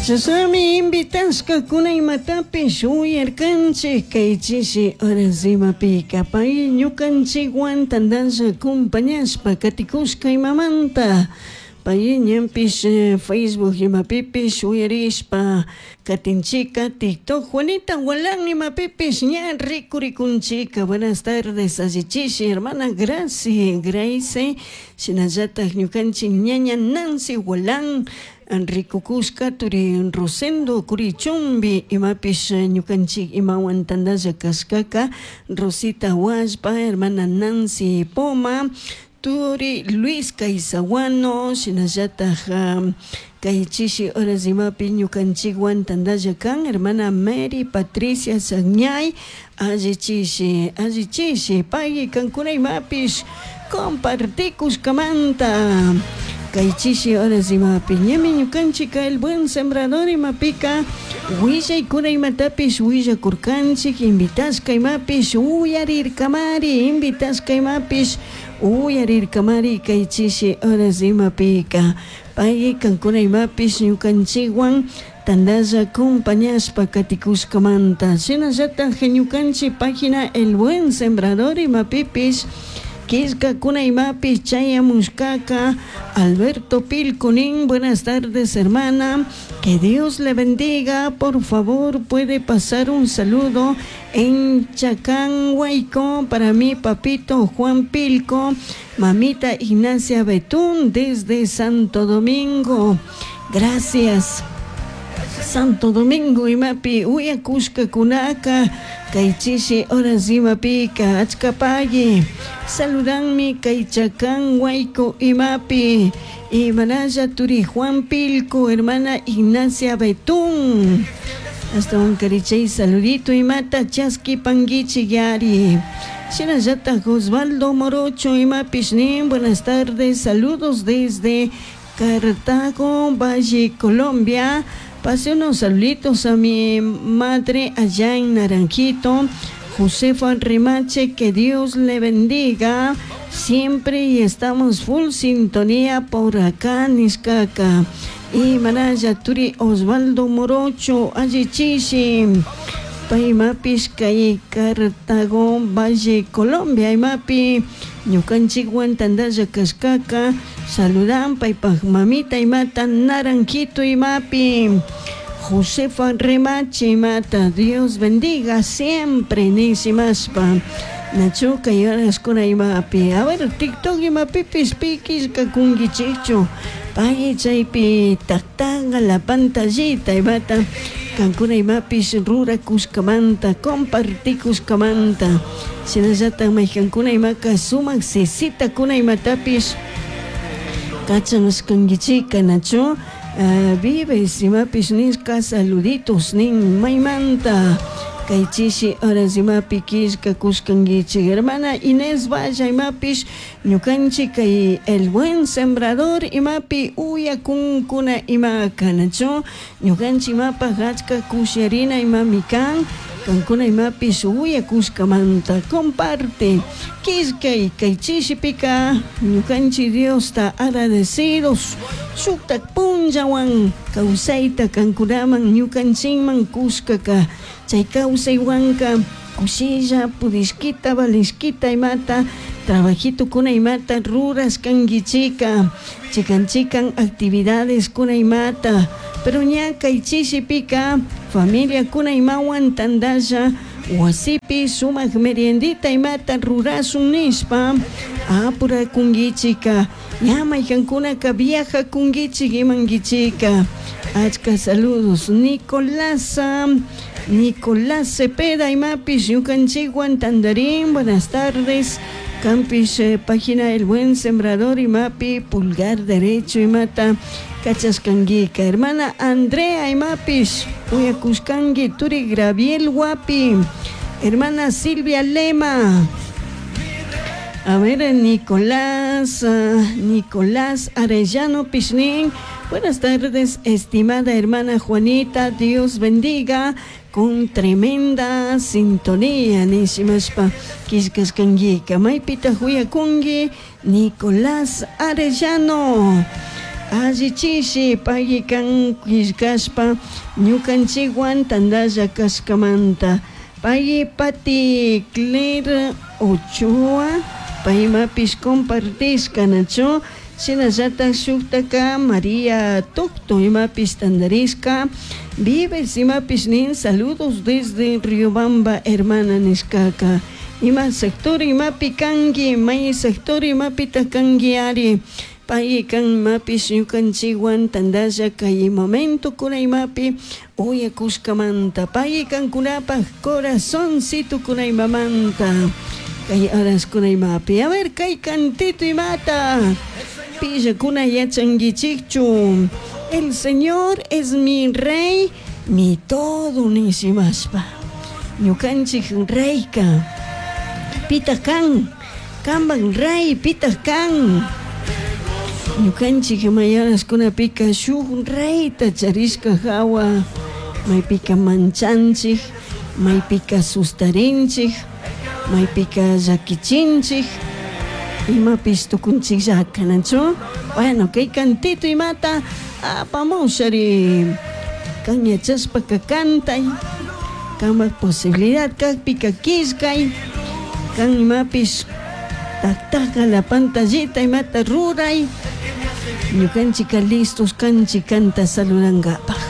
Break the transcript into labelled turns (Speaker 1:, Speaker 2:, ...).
Speaker 1: Chashnami invitashkakuna imatapish uyarkanchik kay chishi horas imapika pay ñukanchikwan tandalla acompañashpa katikushka imamanta pay ñanpish Facebook imapipish uyarishpa katinchika TikTok Juanita Gualán imapipish ña rikurikunchika. Buenas tardes, allichishi hermana Gracie Grace, shinallatak ñukanchik ñaña Nancy Gualán rikukushka turi Rosendo Curichumbi imapish ñukanchik imawan tandalla kashkaka Rosita Huallpa, hermana Nancy Poma, turi Luis Caizahuano, shinallatak kay chishi horas imapi ñukanchikwan tandalla kan hermana Mary Patricia Sagñay, allichishi allichishi pay kankuna imapish compartikushkamanta kay chishi horas imapi ñami ñukanchik El Buen Sembrador imapika willaykuna imatapish willakurkanchik invitashka imapish uyarirkamari invitashka imapish uyarirkamari kay chishi horas imapika pay kankuna imapish ñukanchikwan tandalla acompañashpa katikushkamanta shinallatak ñukanchik página El Buen Sembrador imapipish killkakuna imapish chayamushkaka Alberto Pilconín, buenas tardes, hermana, que Dios le bendiga. Por favor, puede pasar un saludo en Chacán, Huayco, para mi papito Juan Pilco, mamita Ignacia Betún desde Santo Domingo. Gracias. Santo Domingo imapi uyakushkakunaka kay chishi horas imapika achkapayi saludanmi kay Chacán Huayco imapi imanalla turi Juan Pilco, hermana Ignacia Betún, hasta un carichay saludito imata chaskipanguichik yari. Shinallatak Osvaldo Morocho imapish nin buenas tardes, saludos desde Cartago, Valle, Colombia. Pase unos saluditos a mi madre allá en Naranjito, Josefa Remache, que Dios le bendiga siempre y estamos full sintonía por acá, Niscaca. Y Manaya Turi Osvaldo Morocho, Allichishi. Paymapish kay Cartago, Valle, Colombia, imapi ñukanchikwan tandalla kashkaka saludan paypak mamita imata Naranjito imapi Josefa Remache imata Dios bendiga siempre nishimashpa nachu kay horaskuna imapi. A ver, TikTok imapipis pi killkakunkichikchu pay chaypi taktanga la pantallita imata kankuna imapish rurakushkamanta compartikushkamanta shinallatak maykankuna imaka sumak sisitakuna imatapish kachanashkankichika nachu vives imapish nishka saluditos nin maymanta kay chishi horas imapi killkakushkankichik hermana Inés Valla imapish ñukanchik kay El Buen Sembrador imapi uyakunkuna imaka nachu ñukanchik imapaj achka kusharina imami kan kankuna imapish uyakushkamanta comparte killkay kay chishipika ñukanchik Diosta agradecidos shuktak punllawan kawsayta kankunaman ñukanchikman kushkaka chay kawsaywanka kushilla pudishkita valishkita imata trabajito kuna imata rurashkankichika chikan chikan actividades kuna imata pero ña kay chishipika familia kuna imawan tandalla wasipi sumak meriendita imata rurasun nishpa apurakunkichika ña maykankunaka viajakunkichik imankichika achka saludos Nicolás Nicolás Cepeda imapish ñukanchikwan tandarín buenas tardes Campish página El Buen Sembrador imapi pulgar derecho imata kachashkankika hermana Andrea imapish uyakushkanki turi Graviel Wapi hermana Silvia Lema. A ver, Nicolás, Nicolás Arellano Pichnín. Buenas tardes, estimada hermana Juanita. Dios bendiga con tremenda sintonía. Nishimashpa killkashkankika. Maypita huyakunki, Nicolás Arellano. Allichishi pay kan killkashpa ñukanchikwan tantalla kashkamanta. Pay Pati Claire Ochoa paymapish compartishka nachu shinallatak shuktaka María Tocto imapish tantarishka Vives imapish nin saludos desde Riobamba hermana nishkaka. Ima sector imapi kanki may sector imapita kanki ari pay kan imapish ñukanchikwan tantalla kay momento kuna imapi uyakushkamanta pay kankunapaj corazoncito kuna imamanta kay horas kuna imapi. A ver kay cantito imata. Pillakuna yachankichikchu el Señor es mi rey mi todo nishimashpa ñukanchik reyka pitaq kan kanpak rey pitaq kan. Ñukanchik mayaraskunapika shuk reyta charishka hawa. Maypika manchanchik maypika sustarinchik maypika llakichinchik imapish tukunchikllaka nachu bueno kay cantito imata apamushari kan yachashpaka kantay kanpak posibilidad kakpika killkay kan imapish taktaka la pantallita imata ruray. Ñukanchika listos kanchik kanta saludankapaj.